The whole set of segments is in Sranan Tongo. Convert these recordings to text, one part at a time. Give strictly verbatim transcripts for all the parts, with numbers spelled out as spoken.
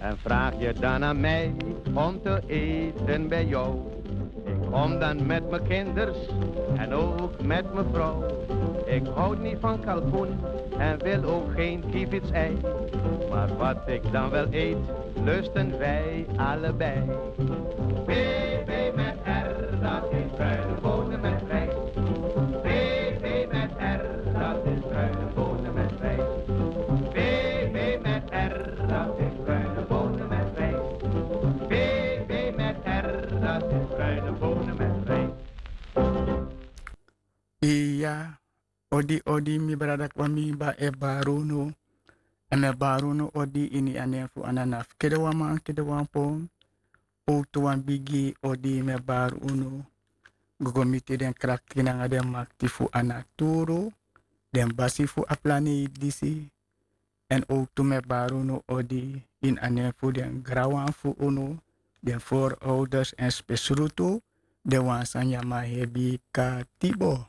En vraag je dan aan mij om te eten bij jou. Ik kom dan met mijn kinders en ook met mevrouw. Ik houd niet van kalkoen en wil ook geen kievitsei. Maar wat ik dan wel eet, lusten wij allebei. Baby met R, dat is bruine bonen met rijst. Baby met R, dat is bruine bonen met rijst. Baby met R, dat is bruine bonen met rijst. Baby met R, dat is bruine bonen met rijst. Iya, odi, odi, mi brada Kwame, mi e bari unu. En mi e bari unu odi ini a nen fu Anana fu Kedewanman, Kedewanpon. Owtu wan bigi odi mi e bari unu. Go go miti den krakti nanga den makti fu a naturu, den basi fu a planeiti disi. En owtu mi e bari unu odi ini a nen fu den granwan fu unu, den voorouders en spesrutu den wan san nyan man hebi katibo.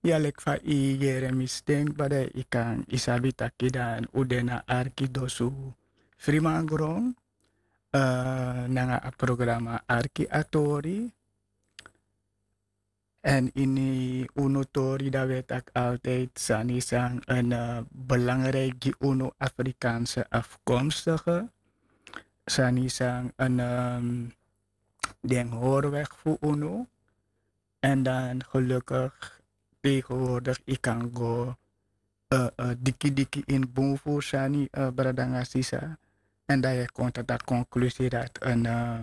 Ya, leki fa i yere mi sten kba, dan i kan, i sabi taki dan un de na Arkidosu Frimangron, eh, nanga a programa Arki a Tori. En ini unu tori dan wi e taki altijd sani san, eh, belangrijk gi unu Afrikaanse afkomstige. Sani san, eh, den hoorweg fu unu. En dan gelukkig tegenwoordig i kan go, eh, eh, diki diki in bun fu sani, eh, brada nanga sisa. En dan yu e kon tot a conclusie dat een, eh,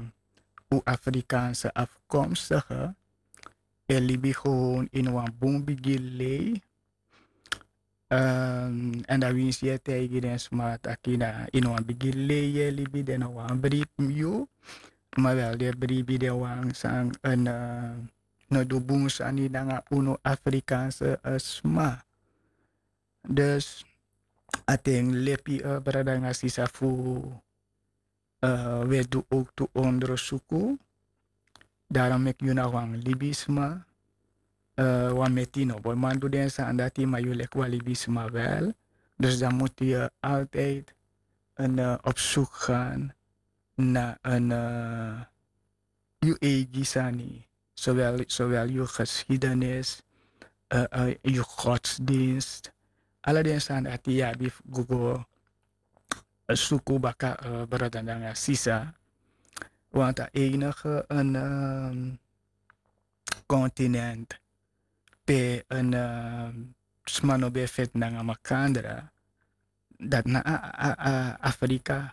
un Afrikaanse afkomstige e libi gewoon in wan bun bigi lei. Ehm, en dan winsi yu e taigi den sma taki na in wan bigi lei yu e libi, den no wani bribi yu. Ma wel den bribi den wan san, eh, no du bun sani nanga unu Afrikaanse, eh, sma. Dus a ten lepi, eh, brada nanga sisa, fu, eh, wi e du owktu ondrosuku. Daarom meki yu na wan libisma, eh, wan meti no bo man du den sani dati, ma yu leki wan libisma wel. Dus dan mutu yu altijd een, eh, op zoek gaan na een, eh, yu eigi sani, zowel, zowel yu geschiedenis, eh, eh, yu godsdienst. Ala den sani dati yu abi fu go go, eh, suku baka, eh, brada nanga sisa. Want a enige een, ehm, continent pe een, ehm, sma no ben feti nanga makandra, dat na a, a, a, Afrika.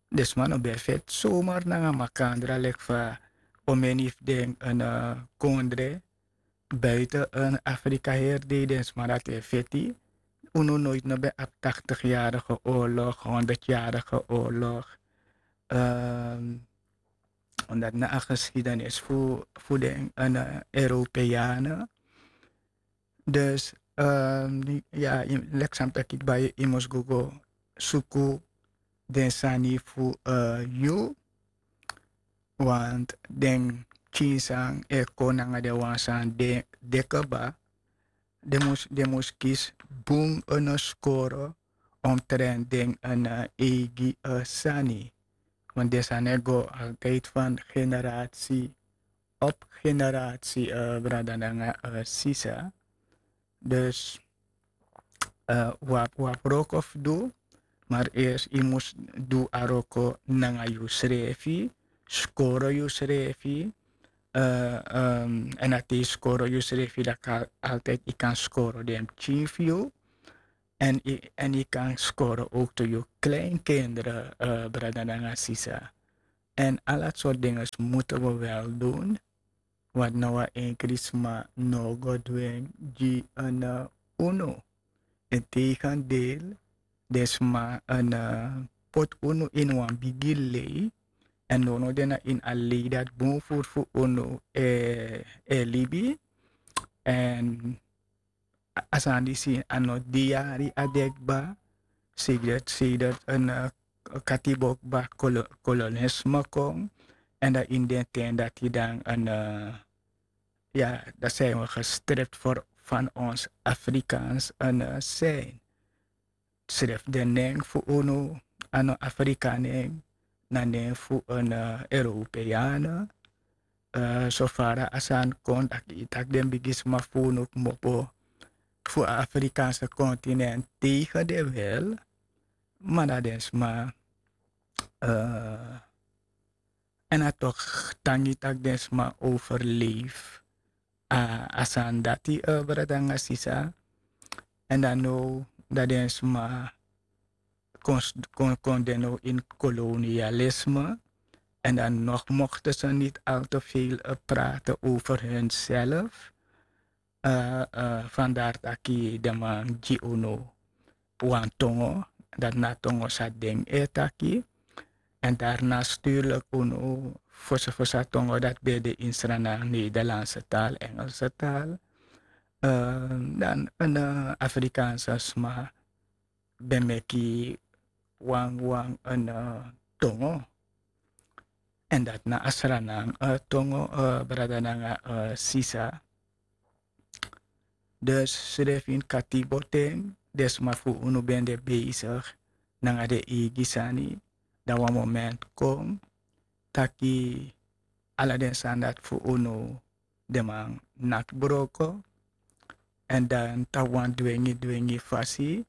Den sma no ben feti zomaar nanga makandra, leki fa omeni fu den een, eh, kondre buiten een Afrika heri dei den sma dati e feti. Unu nooit no ben abi tachtigjarige oorlog, honderdjarige oorlog. Ehm, omdat na a geschiedenis fu, fu den, eh, Europeanen. Dus, ehm, ya, leki san mi taki kba, yu mus go go suku den sani fu, eh, yu. Want den pikin san e kon nanga den wan san de, de kba, den mus, den mus kisi bun, eh, skoro omtrent den, eh, eigi, eh, sani. Want den sani e go altijd van generatie op generatie, eh, brada nanga, eh, sisa. Dus, eh, wi abi, wi abi wroko fu du, maar eerst yu mus du a wroko nanga yusrefi, skoro yusrefi, eh, ehm, en a te yu skoro yusrefi, dan kan altijd yu kan skoro den pikin fu yu. En yu, en yu kan skoro ook to yu kleinkinderen, eh, brada nanga sisa. En ala sort dingen moeten we wel doen. Want no wan enkri sma no go dwingi gi, eh, unu. Integendeel, den sma, eh, poti unu in wan bigi lei. En no, no, den na in a lei dati bun furu fu unu e, e libi. En a, a sani disi a no de yari a de kba. Sedert, sedert een, eh, katibo kba kolo-, kolonisme kon. En dan in den ten dati dan een, eh, ya, dan zijn we gestript voor van ons Afrikaans, eh, zijn. Srefi den nen fu unu, a no Afrika nen, na nen fu en, eh, Europeane. Eh, so fara a sani kon taki, taki den bigisma fu unu kmopo fu a Afrikaanse continent tegen den wil, ma na den sma, eh, en a toch tangi taki den sma overleef a, a sani dati, eh, brada nanga sisa. En dan now dat den sma kon, kon, kon den now in kolonialisme. En dan nog mochten ze niet al te veel, eh, praten over hunzelf. Eh, eh, vandaar taki den man gi unu wan tongo, dat na tongo sa den e taki. En daarna stuurlijk unu fosa fosa tongo dat ben de in Sranan, Nederlandse taal, Engelse taal. Eh, dan een, eh, Afrikaanse sma ben meki wan, wan, een, eh, tongo. En dat na a Sranan, eh, tongo, eh, brada nanga, eh, sisa. Dus srefi in katibo ten, den sma fu unu ben de bezig nanga den eigi sani, dan wan moment kon, taki ala den sani dati fu unu den man naki broko. En dan tapu wan dwengi, dwengi fasi,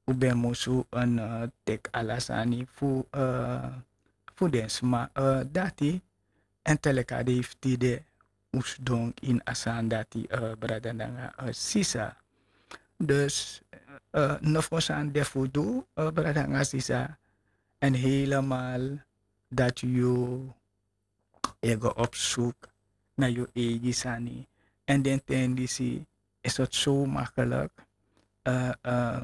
un ben musu, eh, teki ala sani fu, eh, fu den sma, eh, dati. En te leki a dei fu tide un sidon ini a sani dati, eh, brada nanga, eh, sisa. Dus, eh, nofo sani de fu du, eh, brada nanga sisa. En helemaal dat yu e go op zoek na yu eigi sani. En den ten disi is het zo makkelijk. Eh, eh,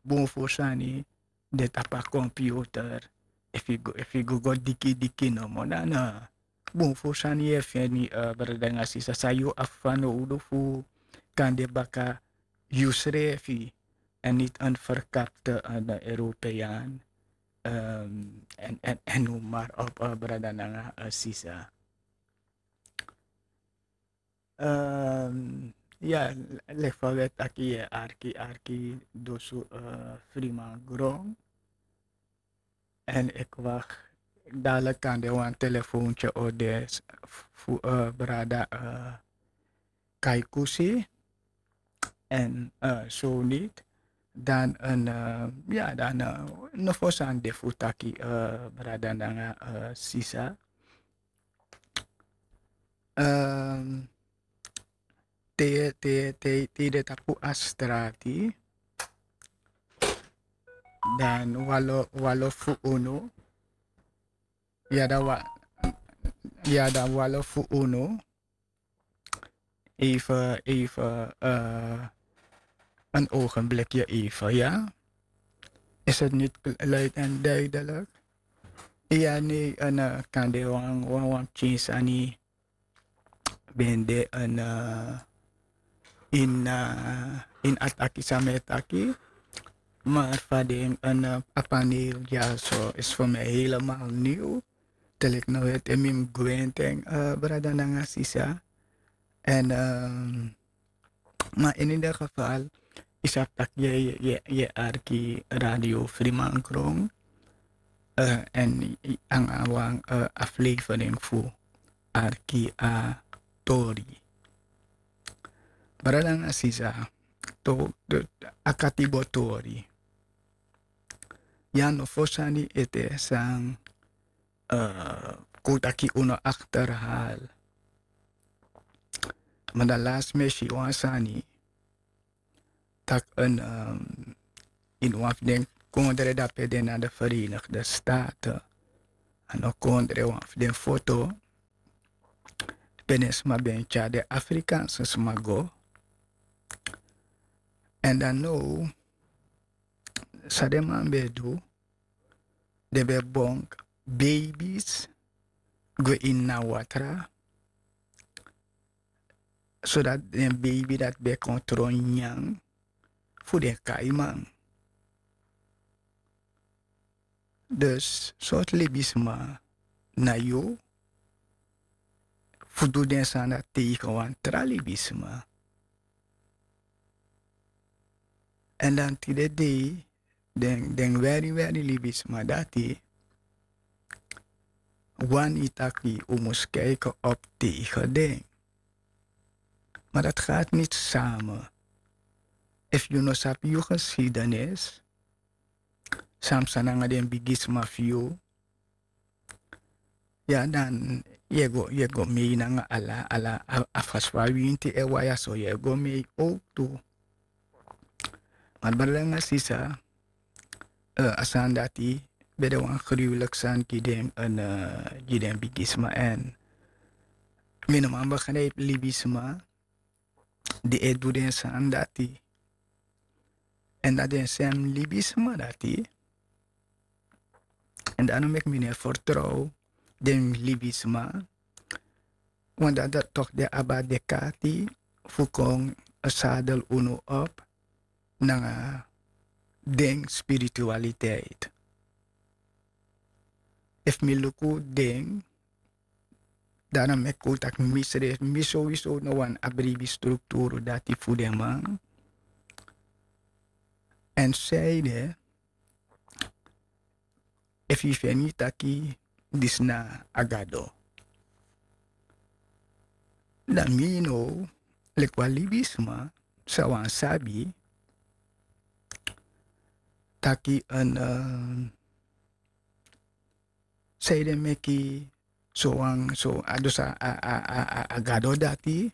bun fu sani de tapu a computer. Efu yu go, efu yu go, go diki diki nomo, dan, eh, bun fu sani yu e feni, eh, brada nanga sisa, san yu abi fanowdu fu kan de baka yusrefi. En niet een verkapte, eh, Europeaan. Ehm, en, en, en noem maar op, eh, brada nanga, eh, sisa. Ehm, ya, leki fa wi e taki, yu e arki, arki dusu, eh, Freeman Gron. En ik wacht, dadelijk kan de wan telefoontje o de s-, fu, eh, brada, eh, Kaikusi. En, eh, zo niet, dan een, eh, ya, dan, eh, nofo sani de fu taki, eh, brada nanga, eh, sisa. Ehm, te, te, te, te de tapu a strati. Dan walo, walo fu unu. Ya, dan wa-, ya, dan walo fu unu. Even, even, eh, een ogenblikje even, ja. Is het niet kl-, luid en duidelijk? Ja, nee, en, eh, kan de wan, wan, wan pikin sani ben de en, eh, in, eh, in a taki san mi e taki. Maar fa den, eh, a paneel dyaso is voor mij helemaal nieuw. Te leki no weti en mi mus gwenti en, eh, brada nanga sisa. En, ehm, maar in ieder geval, yu sabi taki yu e, yu e, yu e arki Radio Freeman Gron, eh, en yu, yu nanga wan, eh, aflevering fu Arki a Tori. Brada nanga sisa, to, de, a katibo tori. Ya, nofo sani ete san, eh, kon taki unu achterhaal. Maar dan last mi e si wan sani. Taki en, ehm, ini wan fu den kondre dape de na de Verenigde Staten. A no kondre, wan fu den foto. Pe den sma ben tyari den Afrikaanse sma go. En dan now, san den man ben du, den ben bonk baby's gwe ini a watra, zodat den baby dati ben kon tron nyanyan fu den kaiman. Dus sortu libisma na yu fu du den sani dati tegen wan tra libisma. En dan tide dei, den den weri weri libisma dati, wani taki un mus kijken op tegen den. Maar dat gaat niet samen. Efu yu no sabi yu geschiedenis, san psa nanga den bigisma fu yu, ya dan yu e go yu e go mei nanga ala ala a- a fasi fa winti e waya so yu e go mei owktu. Maar brada nanga sisa, eh, a sani dati ben de wan gruwelijk sani gi den en, eh, gi den bigisma. En mi no man begrijp libisma di e du den sani dati. En dan den sem libisma dati, en dan no meki mi no e vertrouw den libisma. Want dan dat toch de abadekati fu kon sadel unu op nanga den spiritualiteit. Efu mi luku den, dan no meki un taki mi srefi mi sowieso no wani a bribi strukturu dati fu den man. En zeide, efu yu feni taki disi na a gado, dan mi no leki wan libisma sa wan sabi taki en, eh, san yu de meki so wan so a dus a a a a a gado dati.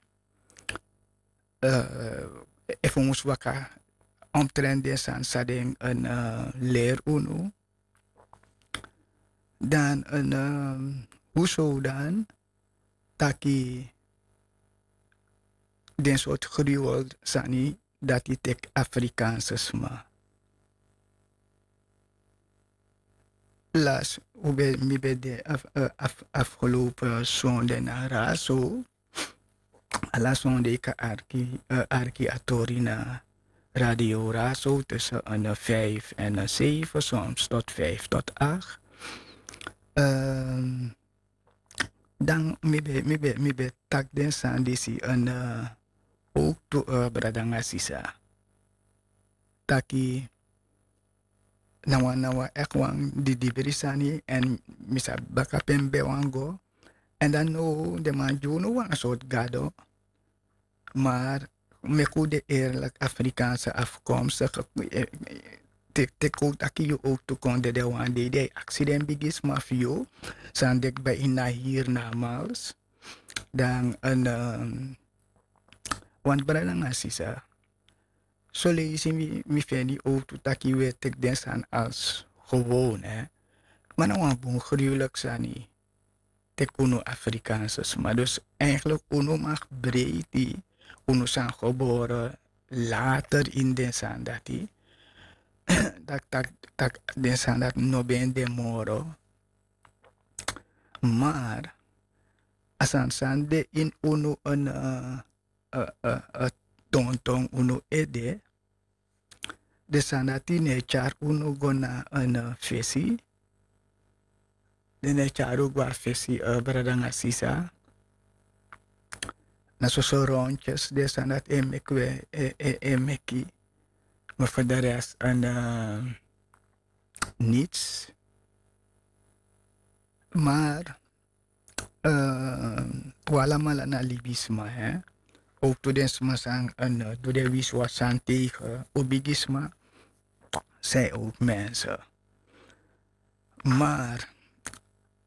Eh, efu un mus waka omtrent den sani san den en, eh, leri unu, dan en, eh, huso dan taki den sortu gruwel sani dati teki Afrikaanse sma. Las un ben mi ben de af- eh, af- afgelopen sonde na Raso. Ala sonde yu kan arki, eh, arki a tori na Radio Raso tussen en, eh, vijf en, eh, zeven, soms tot vijf tot acht. Ehm, dan mi ben mi ben mi ben taki den sani disi en, eh, owktu, eh, brada nanga sisa. Taki na wan na wan eki wan didibri sani, en mi sabi baka pe mi ben wani go. En dan now den man gi unu wan sortu gado. Maar meki un de eerlijk, Afrikaanse afkomstig, eh, eh, te- teki un taki yu owktu kon dede wan dei, den e aksi den bigisma fu yu san de kba ini a hiernamaals. Dan en, ehm, want brada nanga sisa, soleisi mi mi feni owktu taki wi e teki den sani als gewoon, hè. Ma na wan bun gruwelijk sani teki unu Afrikaanse sma. Dus eigenlijk unu mag breiti unu san geboren later ini den sani dati. Tak tak tak den sani dati no ben de moro. Maar a sani san de ini unu en, eh, eh, eh, eh, tonton unu ede, den sani dati no e tyari unu go na en, eh, fesi. Den no e tyari unu go a fesi, eh, brada nanga sisa. Na soso rondjes den sani dati e meki wi e e e meki. Maar voor de rest en, eh, niets. Maar, eh, wi alamala na libisma, hè. Ook tu den sma san en, eh, du den wisiwasi sani tegen un bigisma, zijn ook mensen. Maar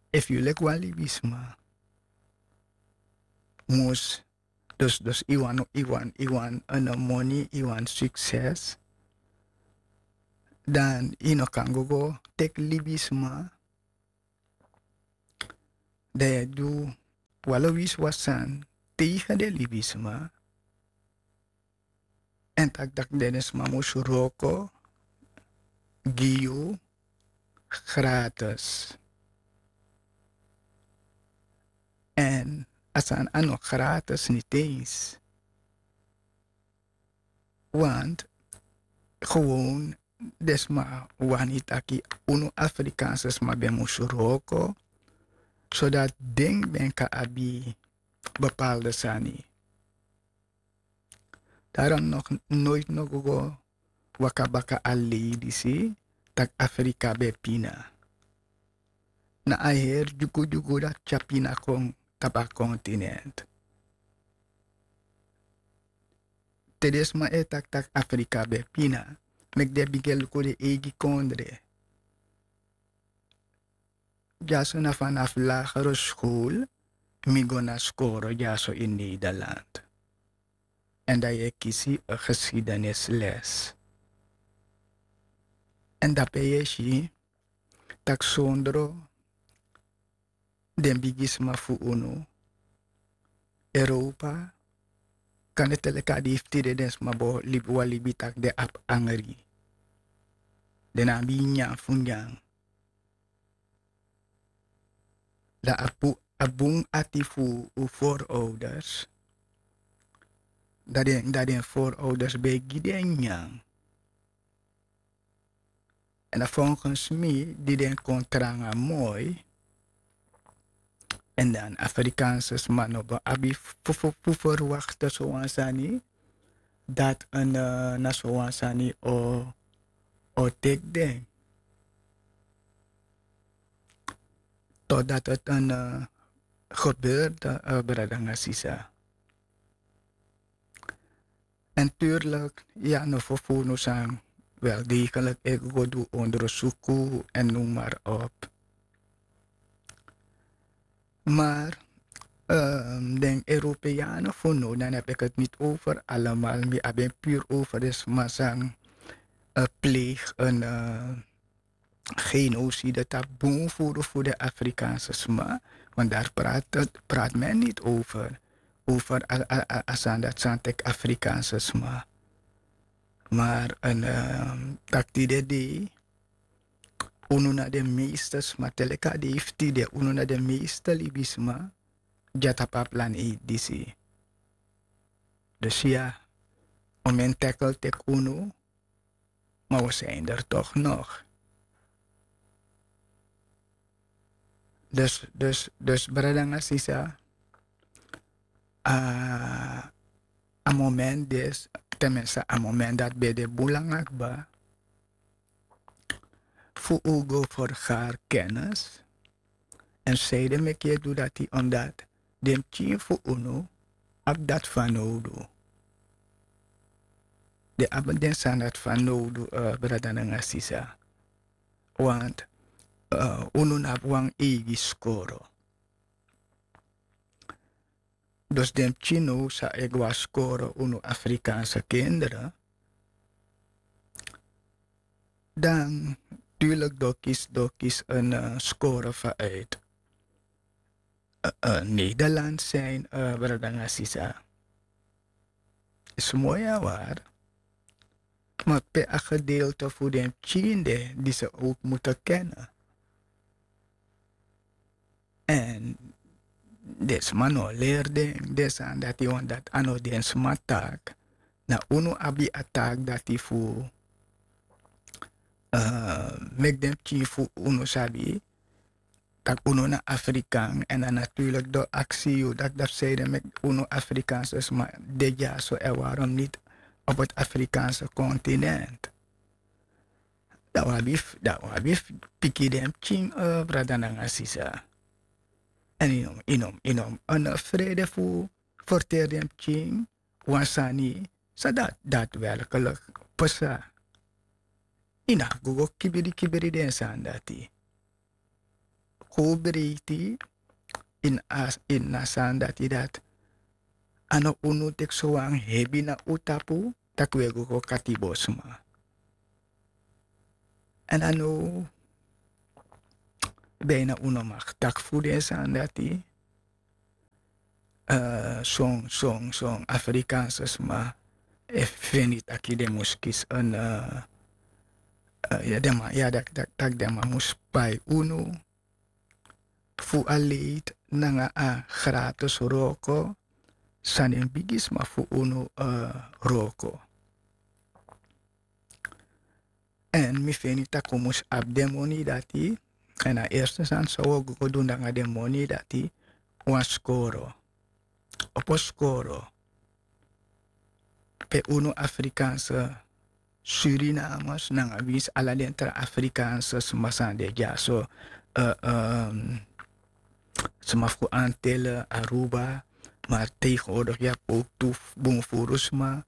efu yu leki wan libisma mus dus dus yu wani yu wani yu wani en moni, yu wani sukses, dan yu no kan go go teki libisma. Dan yu e du wan lo wisiwasi sani tegen den libisma. En taki dati den sma mus wroko gi yu gratis. En a sani a no gratis niti eens. Want gewoon den sma wani taki unu Afrikaanse sma ben mus wroko, zodat den ben kan abi bepaalde sani. Daarom nog nooit no go go waka baka a lei disi. tak' Afrika ben pina. Na a heri dyugudyugu dati tyari pina kon tapu a kontinent. Te den sma e taki tak' Afrika ben pina, meki den bigin e luku den eigi kondre. Dyaso na fanafu lagere skol mi go na skoro dyaso ini Nederland. Èn dan yu e kisi a geschiedenisles. Èn dape yu e si tak' sondro den bigisma fu unu, Europa, kande te leki a dei fu tide den sma bo libi wan libi tak' den abi angri. Den no abi nyanyan fu nyan. Dan a pu a bun ati fu un voorouders. Dan den dan den voorouders ben e gi den nyanyan. Èn a volgens mi di den kon tranga moi. Èn dan Afrikaanse sma no ben abi fu fu fu verwakte sowan sani. Dati na sowan sani o o teki den. Totdat het en gebeurde, brada nanga sisa. En tuurlijk, ya no fufunu san wel degelijk e go du ondersuku en noem maar op. Maar den Europeanen fu no, dan heb ik het niet over allemaal, mi abi en puur over de sma san pleeg en genocide tapu bun furu fu den Afrikaanse sma. Want daar praat men niet over. Over a sani dati san teki Afrikaanse sma. Maar en taki tide dei unu na den meeste sma te leki a dei fu tide unu na den meeste libisma. Dya tapu a planeet disi. Dus ya, un men tackle teki unu, maar we zijn er toch nog. Dus dus dus brada nanga sisa, a moment disi, ten minste a moment dati ben de bun langa kba. Fu un go vergaar kennis. En zeide meki e du dati omdat den pikin fu unu abi dati fanowdu. Den abi den sani dati fanowdu, brada nanga sisa. Want unu no abi wan eigi skoro. Dus den pikin now san e go na skoro, unu Afrikaanse kinderen, dan tuurlijk dokis dokis en skoro vanuit Nederland zijn, brada nanga sisa. Is mooi en waar. Maar pe a gedeelte fu den pikin de die ze ook moeten kennen. En den sma no leri den den sani dati, want dati a no den sma taak. Na unu abi a taak dati fu meki den pikin fu unu sabi tak' unu na Afrikaan. En dan natuurlijk den o aksi yu dati dati fu sani de meki unu Afrikaanse sma de dyaso en waarom niet op het Afrikaanse continent. Dan un abi fu piki den pikin, brada nanga sisa. En yu no mus yu no mus yu no mus en frede fu ferteri den pikin wan sani san dati dati werkelijk pasa. Yu no abi go go kibiri kibiri den sani dati. Kon un breiti ini a sani dati dati a no unu teki sowan hebi na un tapu tak' un e go go kati bosma. Èn a no bina un no maki taki fu den sani dati. Son son son Afrikaanse sma e feni taki den mus kisi en. Ya den man ya dati taki den man mus pai unu fu a leiti nanga a gratis wroko san den bigisma fu unu wroko. Èn mi feni tak' un mus abi den moni dati. Èn a erste sani san un o go go du nanga den moni dati wan skoro. Opo skoro pe unu Afrikaanse Surinamers nanga winsi ala den tra Afrikaanse sma san de dyaso. Sma fu Antille, Aruba, maar tegenwoordig ya poktu bun furu sma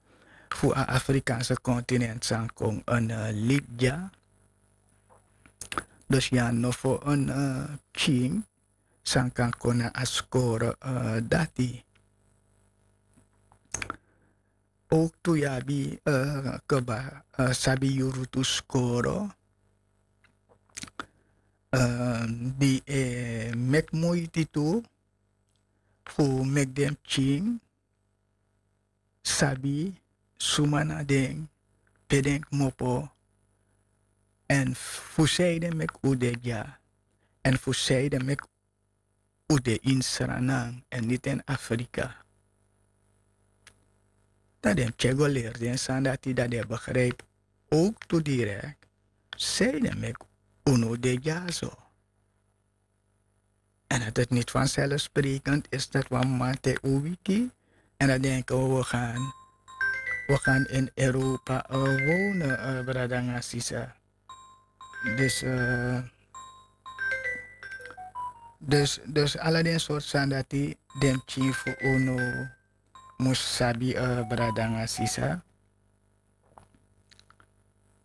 fu a Afrikaanse continent san kon en lid dya. Dus ya no fu en pikin san kan kon na a skoro dati. Ook tu ya abi keba sabi yuru tu skoro di e meki muiti tu fu meki den pikin sabi suma na den, pe den kmopo, èn fu sei den meki un de dya, èn fu sei den meki un de ini Sranan èn niti ini Afrika. Dan den pikin e go leri den sani dati, dan den e begrijpi ook tu direkt sei den meki unu de dyaso. En dat het niet vanzelfsprekend is dat wan mama te un wiki en dan denken we, we gaan, we gaan in Europa wonen, brada nanga sisa. Dus, dus, dus ala den soort sani dati den pikin fu unu mus sabi, brada nanga sisa.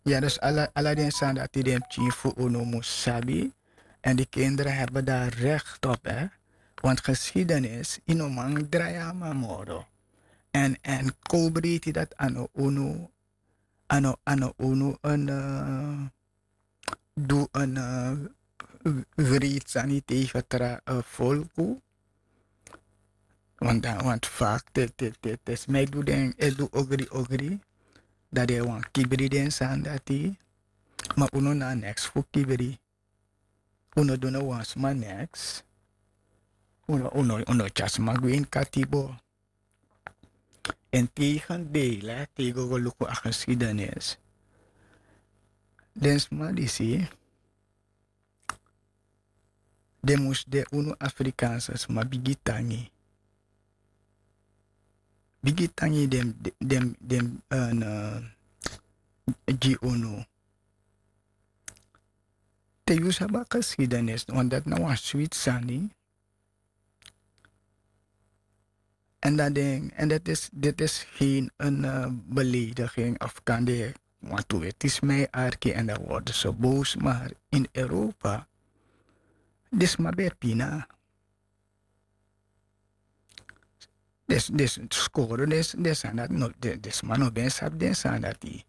Ya, dus ala, ala den sani dati den pikin fu unu mus sabi. En die kinderen hebben daar recht op, hè. Want geschiedenis, yu no man drai a man moro. En, en kobreiti dati a no unu, a no, a no unu en du en wreed sani tegen tra folku. Want dan, want vaak te, te, te, te sma e du den, e du ogri, ogri, dan den wani kibri den sani dati. Ma unu na neks fu kibri. Unu du no wan sma neks. Unu, unu, unu tyari sma gwe ini katibo. En tegendeel, te yu go go luku a geschiedenis. Den sma disi, den mus de unu Afrikaanse sma bigi tangi. Bigi tangi den, den, den, gi unu. Te yu sabi a geschiedenis, want dati na wan switi sani. En dan denk, en dat is, dit is geen een belediging of kan de, want toen werd die smij arki en dan worden ze boos, maar in Europa, dit is maar bij Pina. Dus, dus scoren is, dus aan dat, no, dus man no ben sap den sani dati.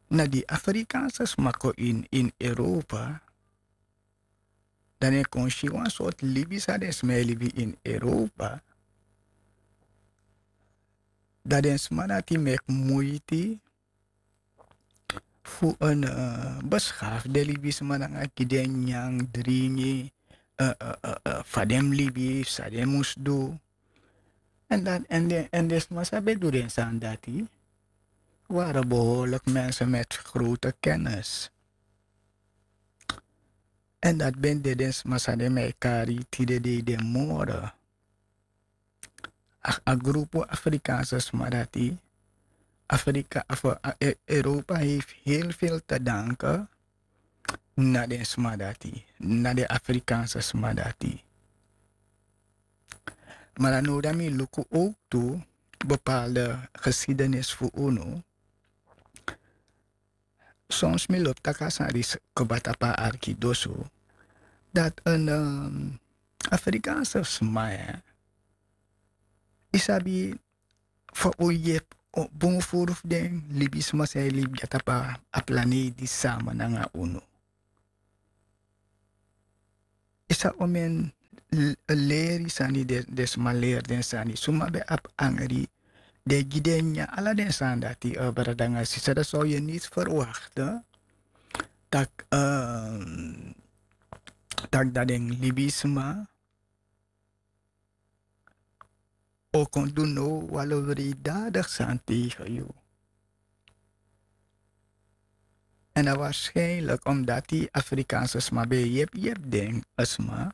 Na di Afrikaanse sma kon in, in Europa, dan den kon si wan sortu libi san den sma e libi in Europa. Dan den sma dati meki muiti fu en beschaafde libisma nanga gi den nyan, dringi, fa den mus libi, san den mus du. En dan, en den, en den sma san ben du den sani dati, waren behoorlijk mensen met grote kennis. En dat ben de den sma san den mi e kari tide dei den moro. A, a grupu Afrikaanse sma dati, Afrika, of, Europa heeft heel veel te danken na den sma dati, na den Afrikaanse sma dati. Maar dan now dan mi luku ook tu bepaalde geschiedenis fu unu. Soms mi lobi taki a sani disi kba tapu a arkidosu, dat en Afrikaanse sma, yu sabi, fa un yepi bun furu fu den libisma san e libi dya tapu a planeiti disi sama nanga unu. Yu sabi omen leri sani den sma leri den sani, suma ben abi angri, den gi den nyan, ala den sani dati, brada nanga sisa, dan zou yu niti verwakte tak', tak' dan den libisma o kon du now wan lo wreeddadig sani tegen yu. En dan waarschijnlijk omdat di Afrikaanse sma ben yepi yepi den sma,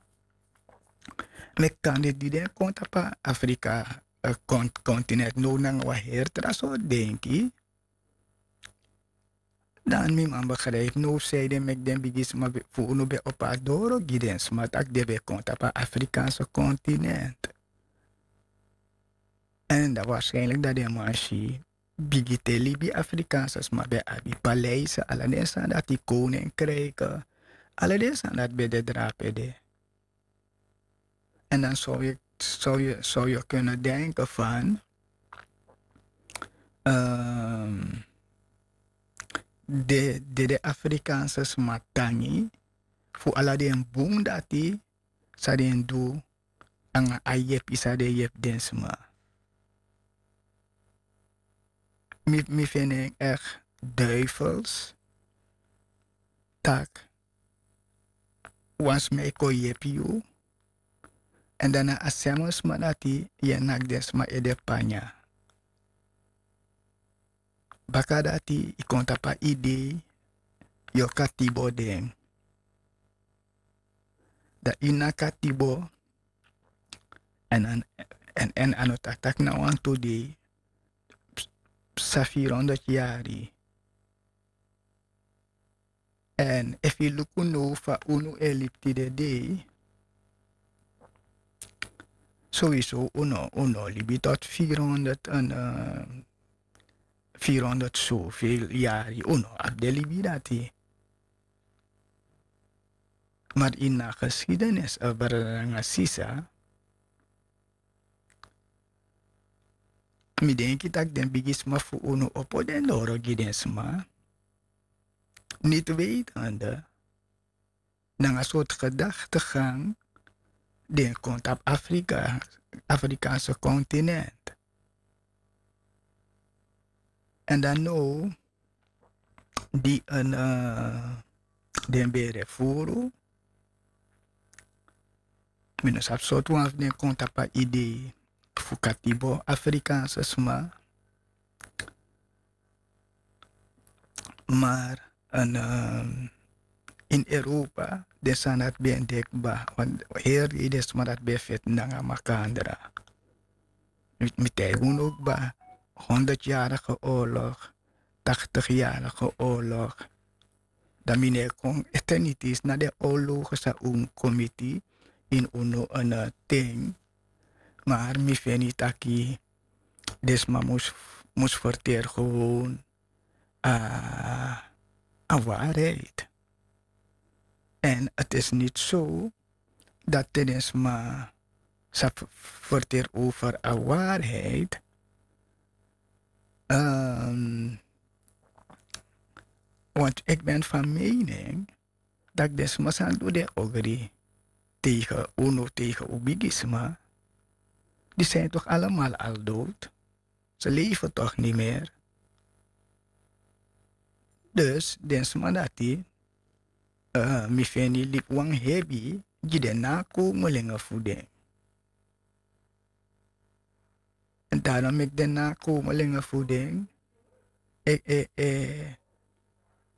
meki kande di den kon tapu a Afrika continent no nanga wan heri tra sortu denki. Dan mi man begrijpi no sei den meki den bigisma fu unu ben opo a doro gi den sma tak' den ben kon tapu a afrikaanse continent. Èn dan waarschijnlik dati den man si bigi te libi afrikaanse sma ben abi paleise ala den sani dati koninkrike, ala den sani dati ben de drape de. En dan zou je, zou je, zou je kunnen denken van, ehm, de, de, de Afrikaanse sma tangi fu ala den bun dati san den du anga a yepi san den yepi den sma. Mi, mi feni en echt duivels tak' wan sma e kon yepi yu. Èn dan na a srefi sma dati yu e naki den sma ede panya. Baka dati yu kon tapu a idei yu o katibo den. Dan yu na katibo. Èn a no taki tak' na wantu dei, psa firi hondro yari. Èn efu yu luku now fa unu e libi tide dei, sowieso unu, unu o libi tot firi hondro en, firi hondro sofel yari unu o abi den libi dati. Mari ini a geskidenis, brada nanga sisa, mi denki tak' den bigisma fu unu opo den doro gi den sma, niti weitende nanga sortu gedaktegang den kon tapu Afrika, Afrikaanse continent. Èn dan now di en, den ben refuru, mi no sabi sortu wan fu den kon tapu a idei fu katibo Afrikaanse sma. Mar en, ini Europa den sani dati ben de kba, want heri dei den sma dati ben feti nanga makandra. Mi taigi unu kba, hondro yarige oorlog, taktig yarige oorlog. Dan mi no e kon ete niti na den oorlogen san un kon miti ini unu en ten. Mar mi feni taki den sma mus, mus verteri gewoon a, a waarheid. Èn het is niti so dati te den sma sa verteri over a waarheid. Want ik ben van mening dat den sma san du den ogri tegen unu, tegen un bigisma, die zijn toch allemaal al dood. Ze leven toch niet meer. Dus den sma dati, mi feni libi wan hebi gi den nakomelingen fu den. En daarom meki den nakomelingen fu den, e, e, e,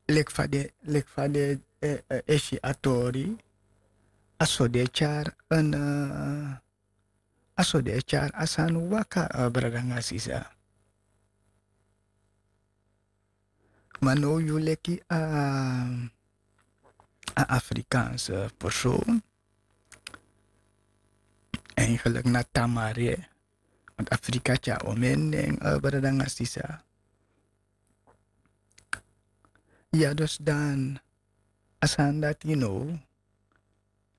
leki fa den, leki fa den e si a tori, a so den e tyari en, a so den e tyari a sani waka, brada nanga sisa. Ma now yu leki a, a Afrikaanse persoon, eigenlijk na tamare, want Afrika tyari omeni nen, brada nanga sisa. Ya dus dan a sani dati now,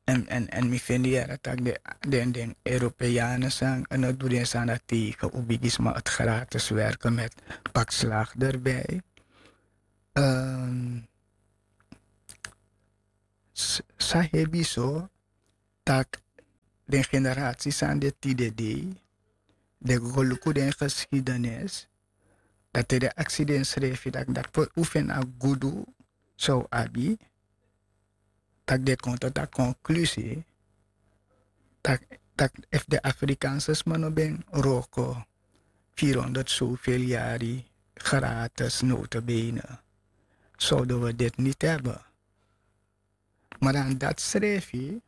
en, en, en mi feni yere tak' den, den Europeanen san, en no du den sani dati tegen un bigisma, het gratis werken met pak slaag erbij. Sa hebi so tak' den generasi san de tide dei, den go luku den geskidenis, dati den aksi densrefi tak' dati pe un feni a gudu san un abi, tak' den kon tot a konklusi tak', tak' efu den Afrikaanse sma no ben wroko vierhonderd zoveel yari gratis notabene, zouden we dit niet hebben. Maar dan dati srefi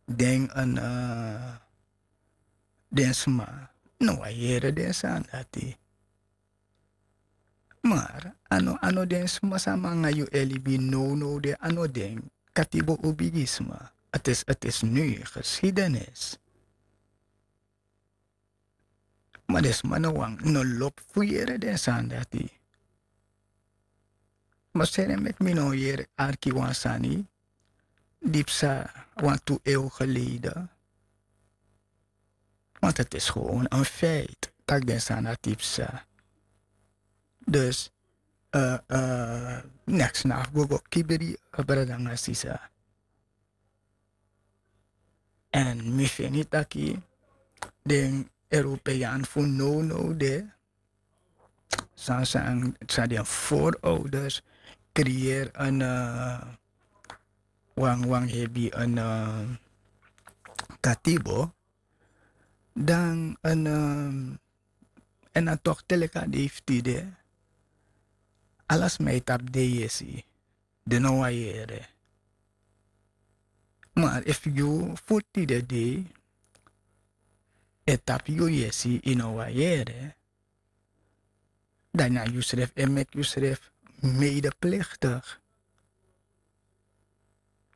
den en, den sma No wan yere den sani dati. Mar a no a no den sma san mi nanga yu e libi nownow de, a no den. Katibo un bigisma. Ati esi ati esi nui gesidenis. Ma den sma no wani no lobi fu yere den sani dati. Ma seni en meki mi no yere arki wan sani di psa wantu ew gelede. Want het is gewoon een feit taki den sani dati psa. Dus neks na fu go go kibri, brada nanga sisa. Èn mi feni taki den european fu nownow de, san san san den voorouders kreeri en wan wan hebi en katibo, dan en en a tok te leki a dei fu tide. Ala sma e tapu den yesi. Den no wani yere. Ma efu yu fu tide dei e tapu yu yesi, yu no wani yere, dan na yusrefi e meki yusrefi medepliktigi.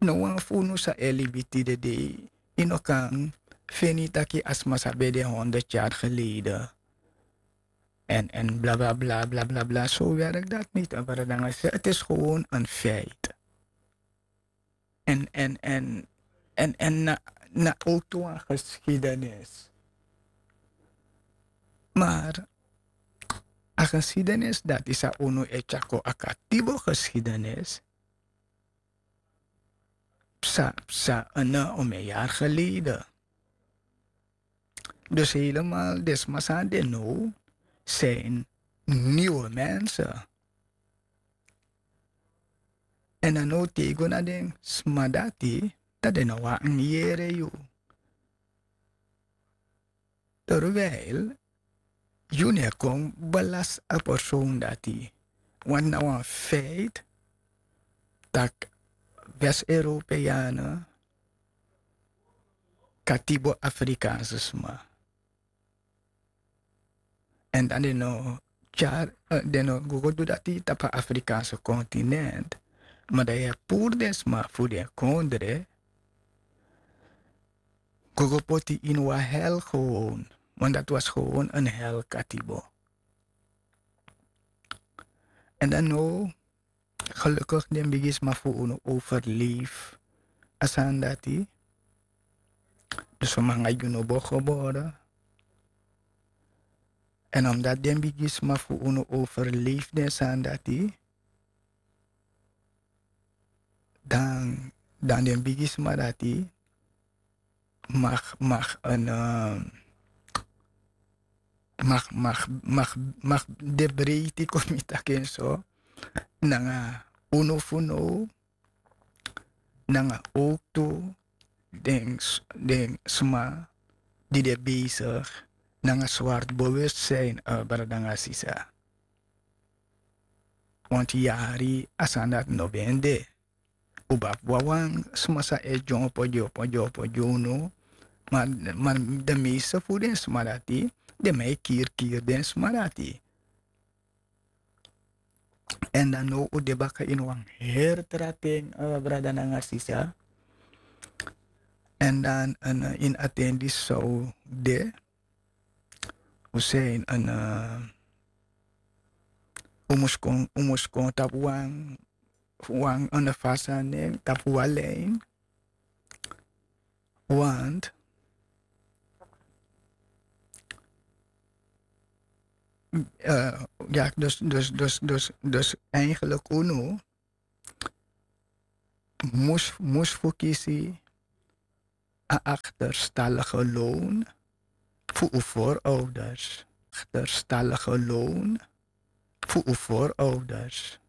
No wan fu unu san e libi tide dei, yu no kan feni taki a sma san ben de honderd yari gelede. En en blablabla blablabla so werk dat niti en brada nanga sisa, ti is gewon en feit. En en en en en na na otu wan geskidenis. Mar a geskidenis dati san unu e tyako a katibo geskidenis, psa psa en na ome yari gelede. Dus helemaal den sma san de now, zijn nieuwe mensen. En dan now te yu go na den sma dati, dan den no wani yere yu. Terwijl yu no e kon belast a persoon dati. Want na wan feit tak west-europeane katibo afrikaanse sma. En dan den no tyari den no go go du dati tapu a afrikaanse kontinent. Ma dan yu e puru den sma fu den kondre go go poti ini wan hel gewon. Want dati was gewon en hel katibo. En dan no, gelukigi den bigisma fu unu overleef a sani dati. Dus fu mi nanga yu no bo gebore. En omdati den bigisma fu unu overleef den sani dati, dan dan den bigisma dati mag mag en mag mag mag mag de breiti kon mi taki en so, nanga unu fu now, nanga owktu den sma di de besigi nanga swart bewustsijn, brada nanga sisa. Want yari a sani dati no ben de. Un ben abi wawan sma san e dyompo dyompo dyompo gi unu. Ma de meeste fu den sma dati, den man e kiri kiri den sma dati. Èn dan now un de baka ini wan heri tra ten, brada nanga sisa. Èn dan ini a ten disi san un de, un sei ini un mus kon un mus kon tapu wan wan ini fasi a nen tapu wan lin. Want ya dus dus dus dus dus eigenlik unu mus mus fu kisi a akterstallige loon fu un voorouders. Akterstallige loon fu un voorouders.